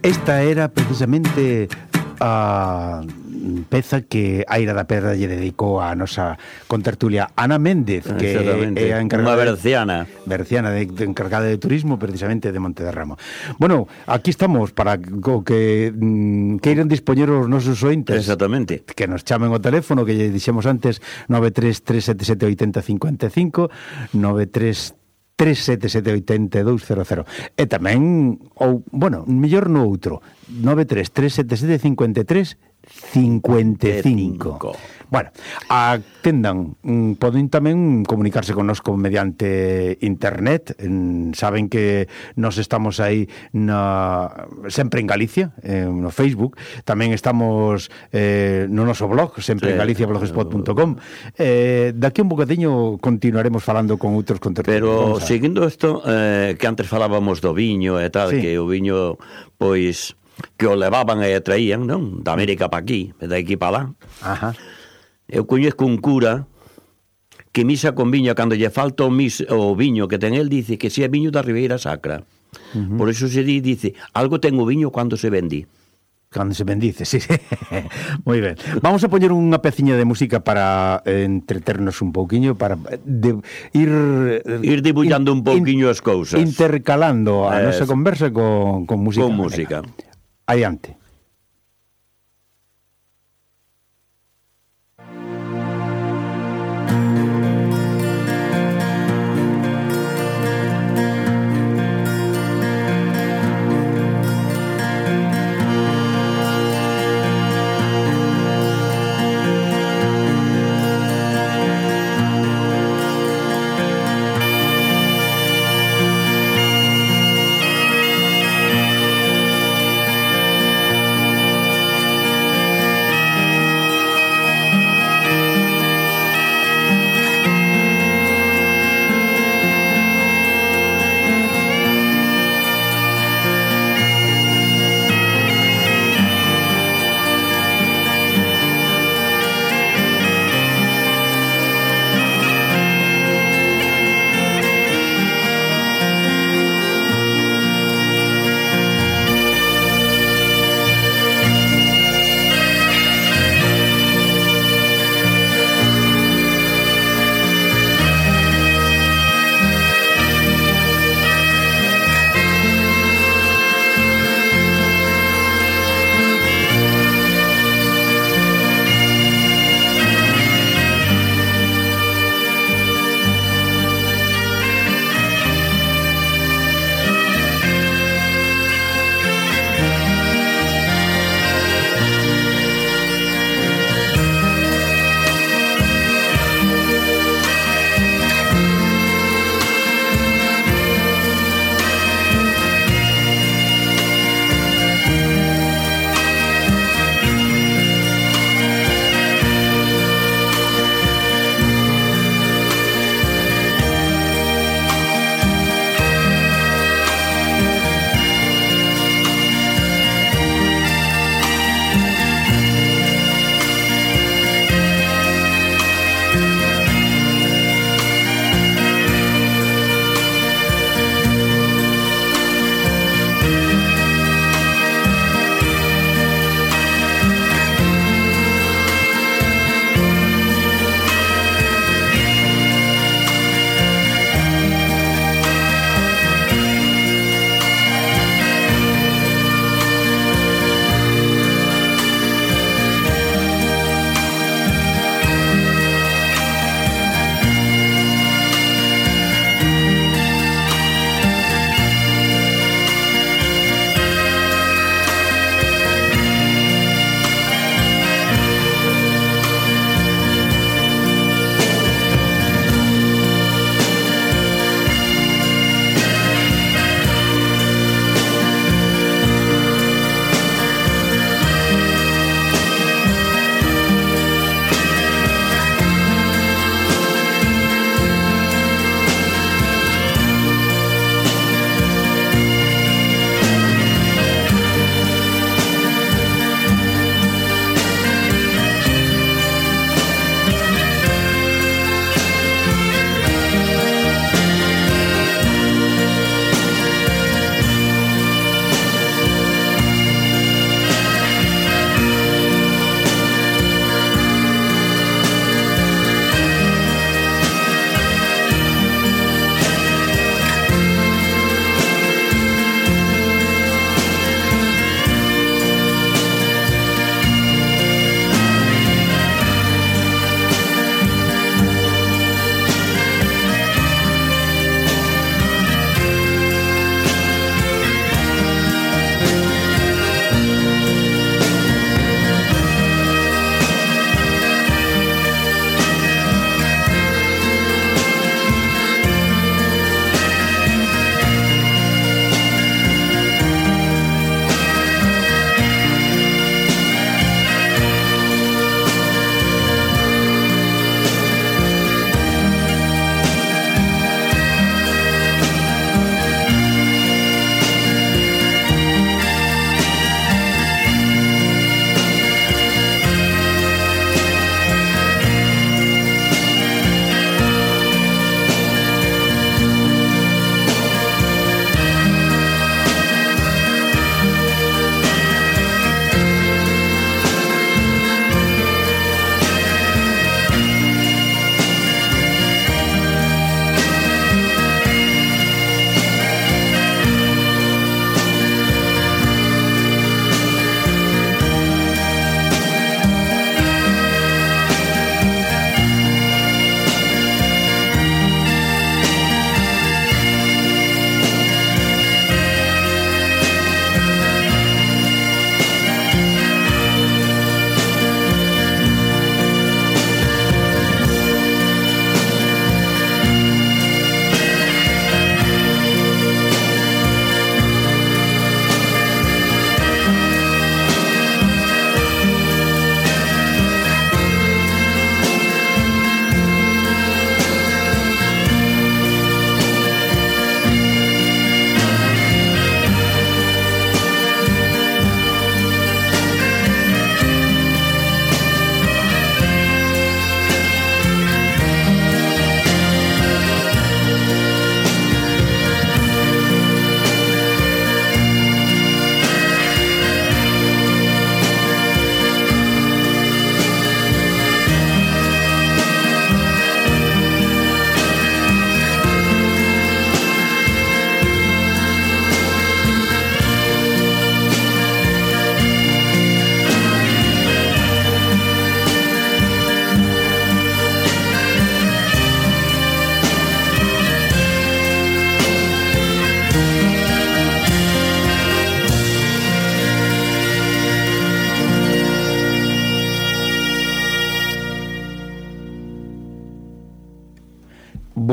Esta era precisamente a peza que Aira da Pedra lle dedicou a nosa contertulia Ana Méndez, que é a encargada, unha berciana encargada de turismo precisamente de Monte de Ramo. Bueno, aquí estamos para que queiran dispoñer os nosos ointes. Exactamente. Que nos chamen o teléfono que lle dixemos antes, 933778055, 933778200. E tamén, ou, bueno, mellor no outro, 933775355. Bueno, atendan, poden tamén comunicarse connosco mediante internet. Saben que nos estamos aí sempre en Galicia, no Facebook. Tamén estamos no noso blog, sempre en Galicia, blogspot.com. Daqui un bocadiño continuaremos falando con outros contertulios. Pero seguindo isto, que antes falábamos do viño e tal, que o viño, pois, que o levaban e traían, non? Da América pa aquí, e da aquí pa lá. Ajá. Eu coñezco un cura que misa con viño, cando lle falta o viño que ten el, dice que se é viño da Ribeira Sacra. Por eso se dice, algo ten o viño cando se vendi. Cando se bendice, sí. Moi ben. Vamos a poñer unha peciña de música para entreternos un pouquiño, para ir dibullando un pouquiño as cousas. Intercalando a nosa conversa con música. Con música. Adiante.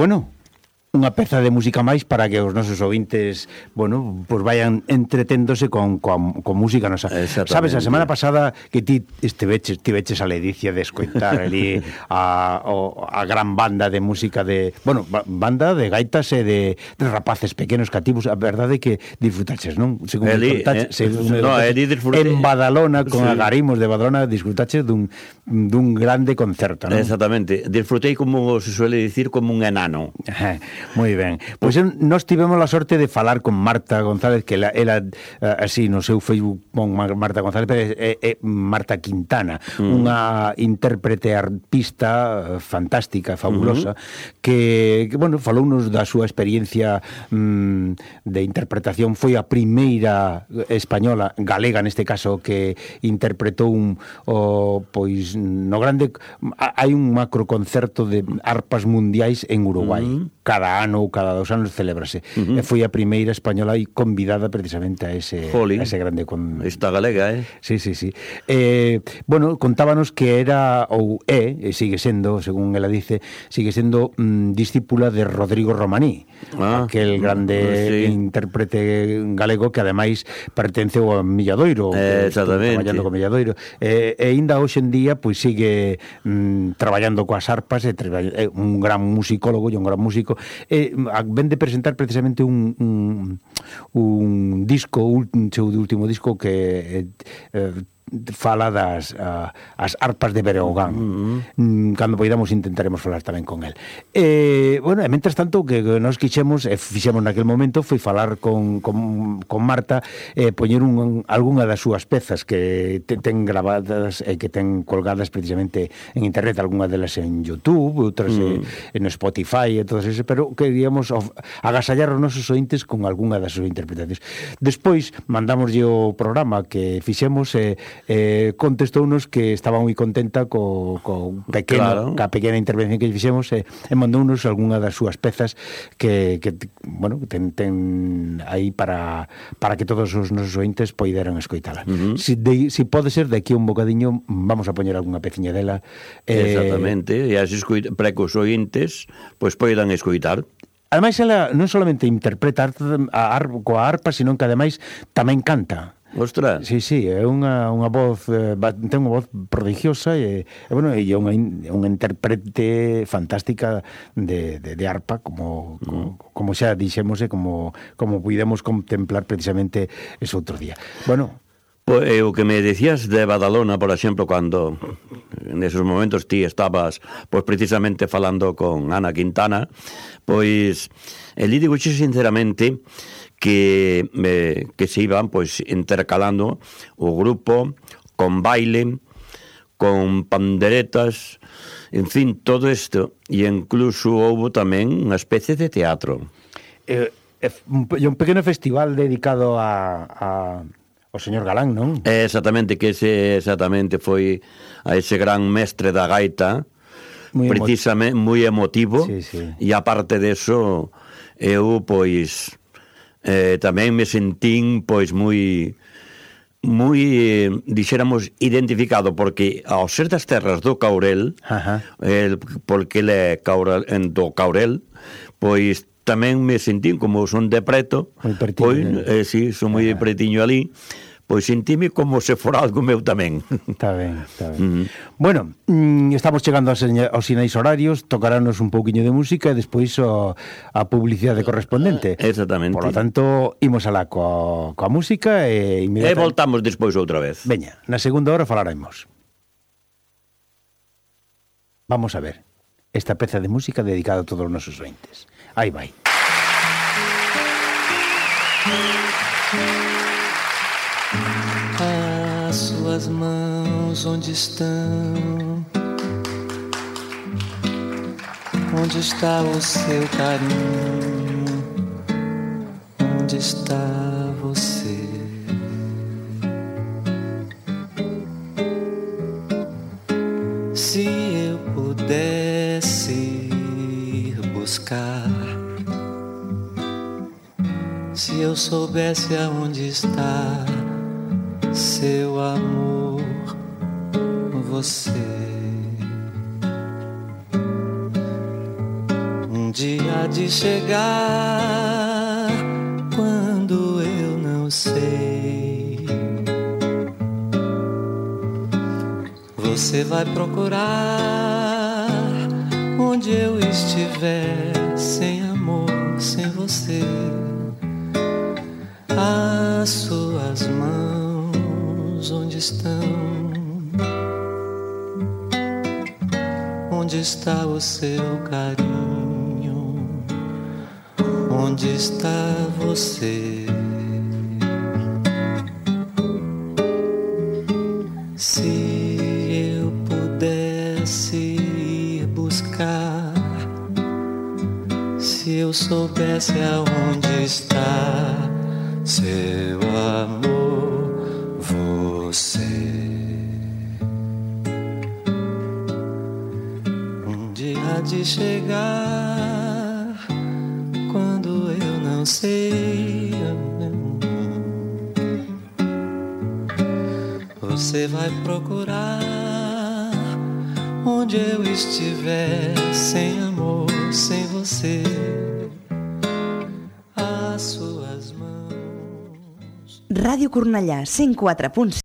bueno, unha peza de música máis para que os nosos ouvintes, bueno, pues vayan entreténdose con música nosa. Sabes, a semana pasada que ti estiveches a ledicia de escoitar ali a gran banda de música de, bueno, banda de gaitas e de rapaces pequenos cativos, a verdade que disfrutaches, non? Según en Badalona, con agarimos de Badalona, disfrutaches dun grande concerto, non? Exactamente, disfrutei, como se suele dicir, como un enano. Moi ben. Pois nós tivemos a sorte de falar con Marta González, que ela así no seu Facebook con Marta González, Marta Quintana, unha intérprete arpista fantástica, fabulosa, que bueno, falounos da súa experiencia de interpretación. Foi a primeira española, galega neste caso, que interpretou pois no grande, hai un macro concerto de arpas mundiais en Uruguai. Cada ano ou cada 2 anos celébrase. E foi a primeira española e convidada precisamente a ese grande Esta galega, Sí. Bueno, contábanos que era ou sigue sendo, según ela dice, sigue sendo discípula de Rodrigo Romaní, aquel grande intérprete galego que ademais pertence ao Milladoiro, traballando co Milladoiro, e ainda hoxe en día pois sigue traballando coas arpas, un gran musicólogo e un gran músico. Ven de presentar precisamente un disco, un seu último disco que fala das as arpas de Breogán. Cando poidamos intentaremos falar tamén con el. Bueno, e mentres tanto que nos fixemos naquel momento foi falar con Marta, poñer algunha das súas pezas que ten gravadas e que ten colgadas precisamente en internet, algunha delas en YouTube, outras en Spotify e todas esas, pero queríamos agasallar os nosos ointes con algunha das súas interpretacións. Despois mandamoslle o programa que fixemos contestounos que estaba moi contenta co pequena intervención que fixemos, e mandounos algunha das súas pezas que bueno, ten aí para que todos os nosos ointes poideran escoitala. Si pode ser, de aquí un bocadiño vamos a poñer algunha peciña dela. Exactamente, e así para que os ointes pois poidan escoitar. Ademais, ela non solamente interpreta coa arpa, sino que ademais tamén canta. Ostras. Sí, é unha voz, ten unha voz prodigiosa e bueno, é unha intérprete fantástica de arpa, como xa dixemos, e como puidemos contemplar precisamente ese outro día. Bueno, pois o que me decías de Badalona, por exemplo, cando en esos momentos ti estabas pois precisamente falando con Ana Quintana, pois el digo sinceramente que se iban pois intercalando o grupo con baile, con panderetas, en fin, todo isto, e incluso houve tamén unha especie de teatro. Un pequeno festival dedicado ao señor Galán, non? Exactamente, que exactamente foi a ese gran mestre da gaita, precisamente moi emotivo, e aparte deso eu pois tamén me sentín pois moi dixéramos identificado, porque ao ser das terras do Caurel, porque ele é do Caurel, pois tamén me sentín, como son de preto, pois si, son moi pretiño ali, pois sentíme como se fora algo meu tamén. Está ben. Bueno, estamos chegando aos sinais horarios, tocarános un pouquiño de música e despois a publicidade correspondente. Exactamente. Por lo tanto, imos alá coa música e voltamos despois outra vez. Veña, na segunda hora falaremos. Vamos a ver esta peza de música dedicada a todos os nosos ointes. Aí vai. As suas mãos onde estão? Onde está o seu carinho? Onde está você? Se eu pudesse ir buscar, se eu soubesse aonde está seu amor, você. dia de chegar quando eu não sei. Você vai procurar onde eu estiver, sem amor, sem você. As suas mãos, onde estão? Onde está o seu carinho? Onde está você? Se eu pudesse ir buscar, se eu soubesse aonde está seu amor, você. Um dia há de chegar quando eu não sei. Você vai procurar onde eu estiver, sem amor, sem você. As suas mãos. Ràdio Cornellà, 104.5.